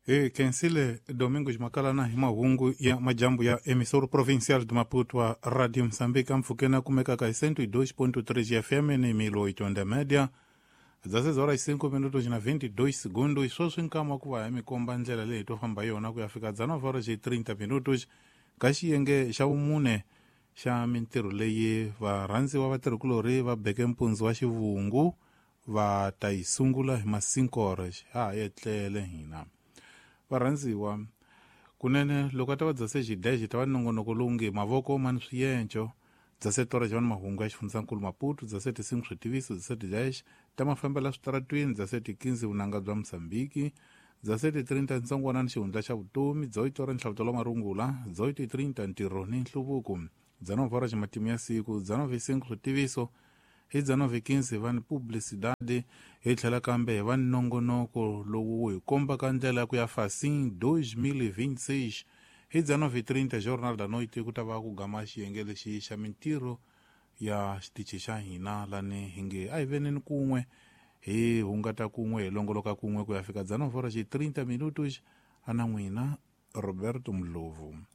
Hi khensile Domingos Makalana hi mahungu ya majambu ya emissora provincial de Maputo a Radio Moçambique ampfhukeni a kumekaka hi 102.3 FM ni 1080 média. 16 horas 5 minutos na 22 segundos. Sweswi nkama ku va hi mi komba ndlela leyi to famba hi yona ku ya fika 19 horas e 30 minutos ka xiyenge xa vumune xa mintirho leyi varhandziwa vatirhikulorhi va beke mpundzu wa xivungu va ta yi sungula hi ma 5 horas ha ha etlele hina. Varhandziwa kunene loko a ta va dzase xidexe ta va nongonoko lowu nge mavoko ma ni swiyenco dzase tora xa mahungu ya xifundzankulu Maputo dzase ti-5 switiviso dzase ti-dash ta mafambela switaratwini dzase ti-15 vunanga bya Mozambiki dzase ti-30 ntsongwana ni xihundla xa vutomi dzoyi tora nhlavutelo wa marungula dzoyi ti-30 ntirho ni nhluvuko dzanova ra matimu ya siku dzanova 5 switiviso hi dzanova 15 va ni publicidade hi tlhela kambe hi va ni nongonoko lowu wu hi kombaka ndlela ya ku ya fasin 2026 hi dzanova 30 Jornal da Noite ku ta va ku gama xiyenge lexi xa mintirho ya xitichi xa hina lani hi nge a hi veneni kun'we hi hungata kun'we hi longoloka kun'we ku ya fika dzanova ra xi 30 minutos ana n'wina Roberto Mlovu.